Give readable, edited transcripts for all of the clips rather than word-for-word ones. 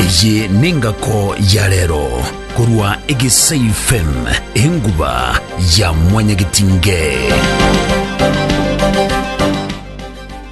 Eye nengako ya rero korwa Egesai FM, enguba ya mwanyagetinge.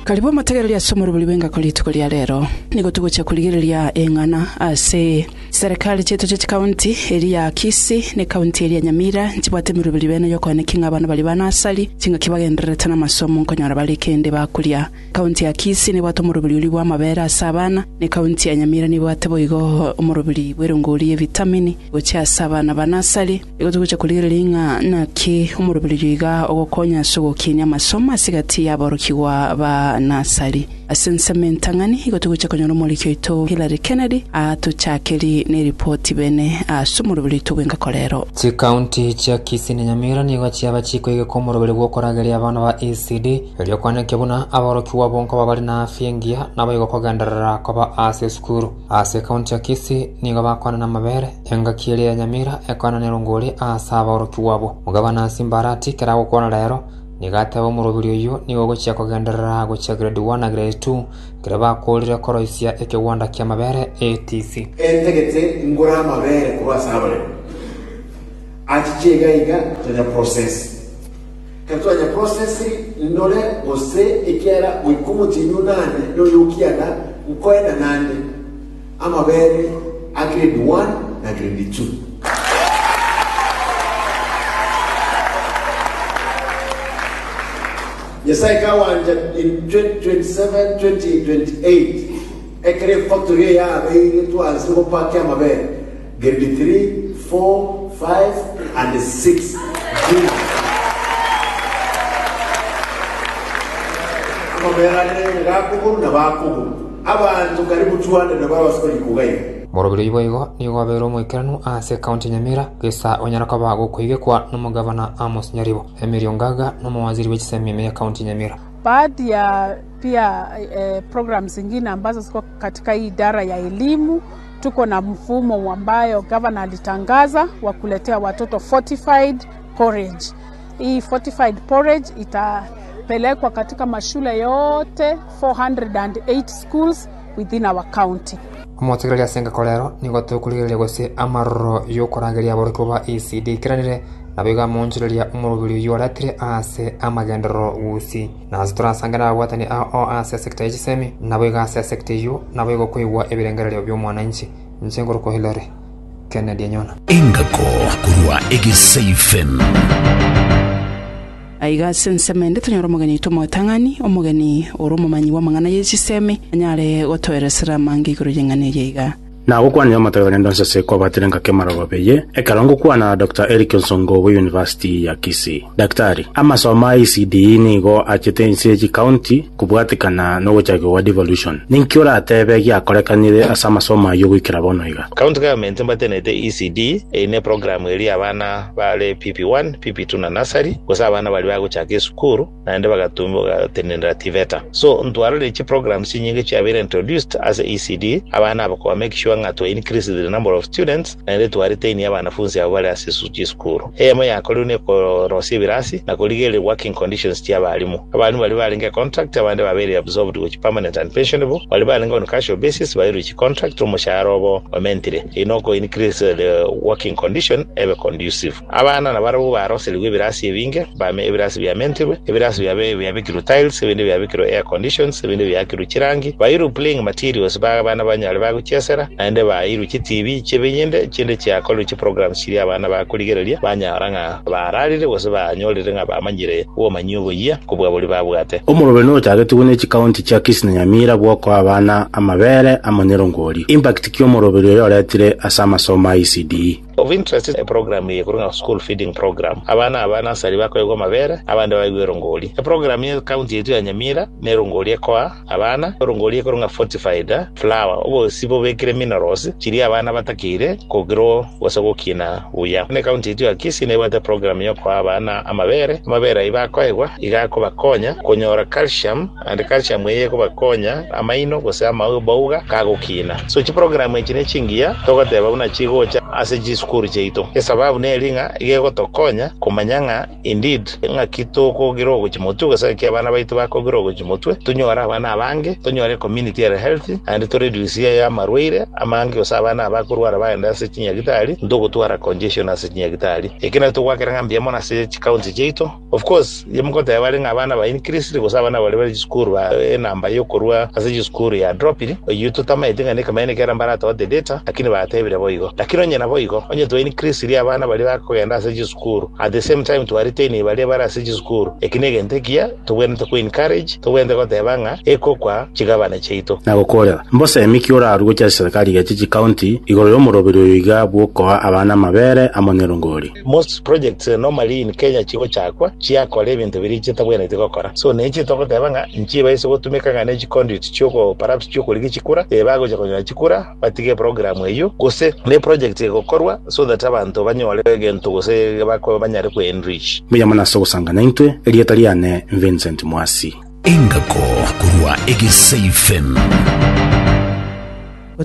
Karibu omotegereri ase omorobori bw'engako rituko ria rero. Nigo togochia korigereria eng'ana ase Serikali chiaito chie chikaunti, eria ya Kisii na ekaunti eria ya Nyamira, nchibwate emeroberi bene y'okoenekia ng'a abana baria ba nasari chingaki bagendererete namasomo nkonyora bare kende bakoria. Ekaunti ya Kisii nebwate omoroberi oria bw'amabere ase abana, na ekaunti ya Nyamira nebwate boigo omoroberi bw'erongori y'evitamini gochia ase abana ba nasari. Igo togochia korigereria ng'a naki omoroberi oyio iga ogokonya ase ogokinia amasomo ase egati y'aborokigwa ba nasari. Ase ensemo entang'ani, igo togochia konyora omoriki oito Hillary Kennedy atochakerie neripoti bene ase omoroberi oito bw'engako rero. Chikaunti chia Kisii na Nyamira nigo chiaba chikoigeka omoroberi bw'okorageria abana ba ECD, erio koenekia buna aborokigwa abwo nkoba bare na afya engiya naboigo kogenderera koba ase esukuru. Ase ekaunti ya Kisii nigo bakoenana amabere, engaki eria ya Nyamira ekoenana erongori ase aborokigwa abwo. Omogabana Simba Arati kera agokwana rero, Nigo ateba omoroberi oyio nigo ogochia kogenderera gochia grade 1 na grade 2 ekero bakoorire koroisia ekegwanda ki'amabere ATC. Entagete ngore amabere korwa ase abaremi, achiche iga iga tonya process. Ekero twanya processiri ndore gose ekiagera goika omotienyi onane na oyo okianda nkoenda nande amabere a grade 1 na grade 2. Nyasae kawancha in 2027, 2028 ekero efactory eye yabeire twansire gopakia amabere grade 3, 4, 5 and 6 junior. Amabere ande gakogorwa na bakogorwa abanto karibu 200 nabo barabase korikwa iga iga. Moroberi oyio boigo nigo abeire omoikeranu ase ekaunti ya Nyamira, gesa onyara koba gokoigekwa nomogavana Amos Nyaribo. Emily Ongaga nomowaziri bwe chisemi ime y'ekaunti ya Nyamira. Baadhi ya pia eh, programs zingine ambazo ziko katika hii idara ya elimu, tuko na mfumo ambayo gavana alitangaza wa kuletea watoto fortified porridge. Hii fortified porridge itapelekwa katika mashule yote 408 schools within our county. Omotegereri ase engako rero nigo tokorigereria gose amaroro y'okorangeria aborokigwa ba ECD eikeranire, naboigo amoonchoreria omoroberi oyio oretire ase amagenderero gusii. Na ase torasange nababwatani ao ase esecta ye chisemi, naboigo ase esecta eyio naboigo koigwa ebirengererio bi'omwananchi. Inche nkorokwa Hillary Kennedy Anyona. Engako korwa Egesaifem. Aiga ase ensemo ende tonyore omogeni oito omotang'ani, omogeni ore omomanyi bw'amang'ana ye chisemi, anyare gotoeresera amange igoro y'eng'ana eye iga. Nagokwanire omotebi one ndonsi ase kwabatire ngaki amarogoba eye, ekero ngokwana na Doctor Eric Onsongo bwe University ya Kisii. Daktari, amasomo a ECDE nigo achete inse ye chicounty kobwatekana nogochakigwa gwa devolution. Ninki oratebe giakorekanire ase amasomo ayio goikera bono iga? County government mbatenete ECD, eye ne program eria abana bare PP1, PP2 na nursery, gose abana baria bagochaka esukuru naende bagatenenera TVETA. So ntwarorire chiprograms chinyinge chiabeire introduced ase ECD, abana aba koba make sure ng'a twa increase the number of students naende twa retain abanafunsi abwo bare ase chisukuru. Eyemo yakorirwe ne korosia ebirasi na korigereria working conditions chia abalimu. Abalimu baria barenge contract abande babeire absorbed gochia permanent and pensionable, baria barenge on casual basis bairwe chicontract omoshahara obo omentire. Eyio noko increase the working condition ebe conducive. Abana nabarabwo baroserigwe ebirasi ebinge, bame ebirasi biamentirwe, ebirasi biabe biabekirwe tiles, ebinde biabekirwe air conditions, ebinde biakirwe chirangi, bairwe playing materials ba abana banyare bagochiesera, naende bairwe chitibi chi'ebinyinde, chinde chiakorirwe chiprograms chiria abana bakorigereria banyora ng'a bararire gose banyorire ng'a bamanyire obomanyi oboyia kobua boria babwate. Omoroberi nochagetigwe ne chikaunti chia Kisii na Nyamira bw'okoa abana amabere amo nerongori. Impact ki omoroberi oyo oretire ase amasomo a ECDE? Of interest eprogram eye ekorwa ng'a school feeding program. Abana aba nursery bakoegwa amabere, abande baegwe erongori. Eprogram ye county yaito ya Nyamira nerongori ekoa abana, erongori ekorwa ng'a fortified flour, obosi bobekire minerals chiria abana batakeire kogrow gose gokina buya. Buna ecounty yaito ya Kisii nebwate eprogram yokoa abana amabere, amabere ayio bakoegwa iga akobakonya konyora calcium Naende calcium eye ekobakonya amaino gose amabauga kagokina. So chiprogram echi ne chingiya togoteba buna chigocha ase chisukuru. chisukuru chiaito. Esababu neri ng'a iga egotokonya komanya ng'a indeed ng'aki tokogira ogochia motwe gose ng'aki abana baito bakogira ogochia motwe, tonyore abana abange, tonyore ecommunity ere healthy, naende toreduce amarwaire amange gose abana aba bakorwara bagende ase chinyagitari, ntogotwara congestion ase chinyagitari. Eki nakio togoakera ng'a mbuya mono ase chicounty chiaito. Of course, inche mogoteba bare ng'a abana ba increased gose abana baria bare chisukuru ba enamba yokorua ase chisukuru ya dropire, oyio totamaeti ng'a nekemanyererio ekero mbaratote data, lakini batebire boigo. Lakini onye naboigo, onye twa increasirie abana baria bakogenda ase chisukuru, at the same time twa retain baria bare ase chisukuru, eki negento ekiya tobwenerete ko encourage, tobwenerete goteba ng'a ekokwa chigabana chiaito. Na gokoorera, mbosemi ki orarue gochia ase serikali geche chikaunti igoro y'omoroberi oyo iga bw'okoa abana amabere amo nerongori? Most projects normally in Kenya chigochakwa chiakora ebinto biria chitabwenereti gokora. So ninche togoteba ng'a nchibaise gotumeka ng'a ne chiconduit chioko perhaps chiokorigia chikura, eh bagocha konyora chikura batige eprogram eyio, gose ne project egokorwa so that abanto banyore egento gose bako banyare ko enrich. Mbuya mono ase ogosanga naintwe, erieta riane Vincent Mwasi. Engako korwa Egesei FM.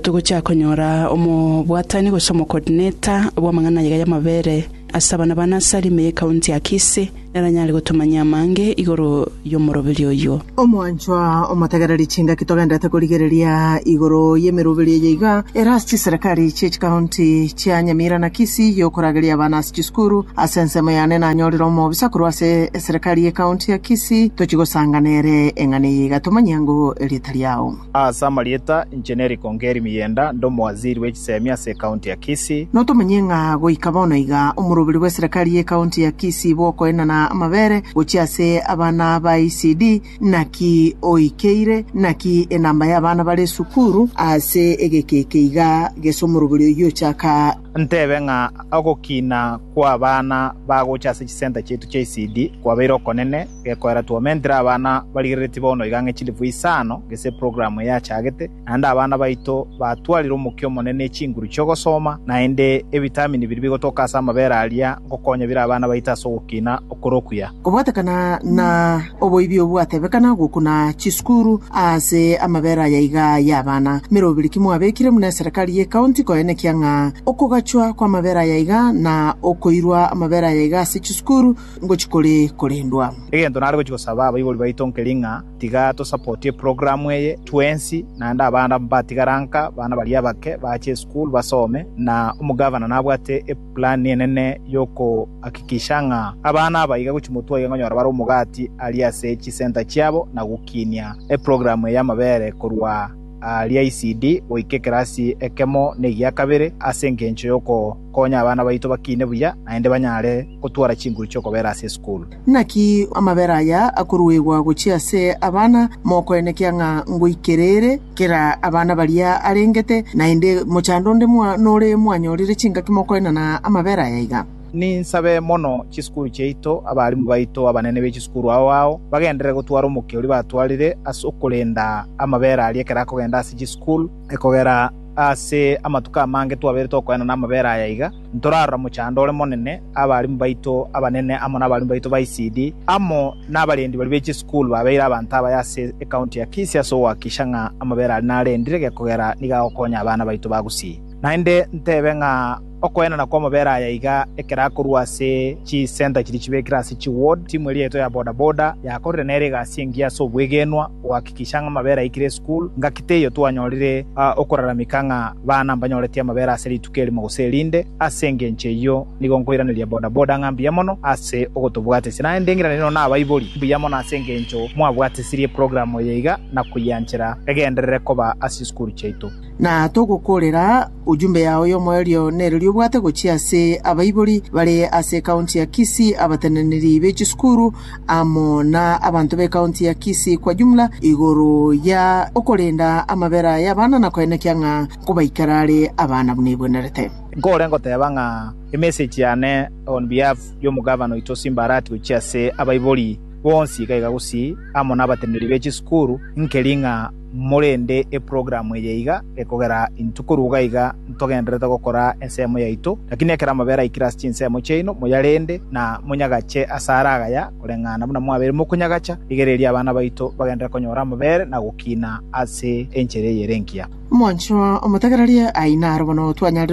Togochia konyora omobwatani gose omocoordinator bw'amang'ana ayaiga y'amabere ase abana ba Nasari ime y'ecounty ya Kisii, nere anyare gotomanyia amange igoro y'omoroberi oyio. Omwanchwa omotegereri chingaki togenderete korigereria igoro y'emeroberi eye iga ere ase chiserekari chie chikaunti chia Nyamira na Kisii yokorageria abana ase chisukuru. Ase ensemo yane nanyorire omobisa korwa ase eserekari y'ekaunti ya Kisii tochie gosanga nere eng'ana eye iga tomanyie ango erieta riao. Ase amarieta, inche Nerick Ongeri Miyenda, nde omowaziri bwe chisemi ase ekaunti ya Kisii. Notomanyie ng'a goika bono iga omoroberi bw'eserekari y'ekaunti ya Kisii bw'okoenana amabere gochia ase abana ba ECD naki oikeire, naki enamba y'abana bare esukuru ase egeka eke iga gese omoroberi oyio ochaka. Ntebe ng'a ogokina kw'abana bagocha ase chisenta chiaito chia ECD kwabeire okonene, Gekoera twomentire abana barigereretie bono iga ang'e chilifu isano gese eprogramu eye yachagete, naende abana baito batwarire omokia omonene ne chinguru chi'ogosoma, naende ebitamini biria bigotoka ase amabere aria ngokonya bire abana baito ase ogokina okore okuya. Kobwatekana na oboibi obwatebekana gokuna chisukuru ase amabere aya iga y'abana, meroberi ki mwabekire buna eserekari y'ecounty koenekia ng'a okogachwa kw'amabere aya iga na okoirwa amabere aya iga ase chisukuru Ngochia kore korendwa. Egento nare gochia gosaba abaibori baito nkeri ng'a tiga tosapotie eprogramu eye twensi, naende abana mbatigara nka, abana baria abake bache esukuru basome, na omogavana nabwate eplan enene yokohakikisha ng'a abana aba iga gochia motwe iga nkonyora bare omogati aria ase chisenta chiabo na gokinia eprogramu eye y'amabere korwa aria ECD goika ekerasi ekemo na egia kabere ase engencho yokokonya abana baito bakine buya naende banyare gotwara chinguru chi'okobera ase esukuru. Naki amabera aya akoruegwa gochia ase abana, mokoenekia ng'a ngoikerere kera abana baria arengete, naende mochando onde nore mwanyorire chingaki mokoenana amabera aya iga. Ninsabe mono chisukuru chiaito, abalimu baito, abanene be chisukuru ao ao, bagenderere gotwara omokia oria batwarire ase okorenda amabera aria ekero akogenda ase chisukuru, ekogera ase amatuko amange twabeire tokoenana amabera aya iga, ntorarora mochando ore monene, abalimu baito abanene amo nabalimu baito ba ECD, amo nabarendi baria be chisukuru babeire abanto abaya ase ecounty ya Kisii ase ogohakikisha ng'a amabera aria narendire gekogera nigo agokonya abana baito ba Gusii. Naende ntebe ng'a Okoenana kw'amabera aya iga ekero akorua ase chisenta chiria chibekire ase chiward, timu eria yaito ya boda boda yakorire nere egasi engiya ase obwegenwa gohakikisha ng'a amabera aikire esukuru. Ngaki teiyo twanyorire okoraramika ng'a bana mbanyoretie amabera ase rituko erimo gose erinde. Ase engencho eyio nigo nkoiraneria boda boda ng'a mbuya mono ase ogotobwatesia. Naende ng'iranerie nonya nabaibori mbuya mono ase engencho mwabwatesirie eprogram eye iga na koyianchera egenderere koba ase chisukuru chiaito. Na togokoorera ujumbe yao y'omoerio nererio obwate gochia ase abaibori bare ase ekaunti ya Kisii, abateneneri be chisukuru amo na abanto b'ekaunti ya Kisii kwa jumla igoro ya okorenda amabera y'abana na koenekia ng'a nkobaikera are abana buna ebwenerete. Nkore ngoteba ng'a emessage yane on behalf y'omogavana oito Simba Arati gochia ase abaibori bonsi iga iga Gusii amo nabateneneri be chisukuru nkeri ng'a Morende eprogramu eye iga, ekogera intwe korwa iga iga ntogendererete gokora ensemo yaito, lakini ekero amabera aikire ase chinsemo chiaino, moyarende na monyagache asare agaya, koreng'ana buna mwabeire mokonyagacha. Rigereria abana baito bagenderere konyora amabere na gokina ase enchera eye ere engiya. Omwanchwa omotegererie, aye naro bono twanyarire.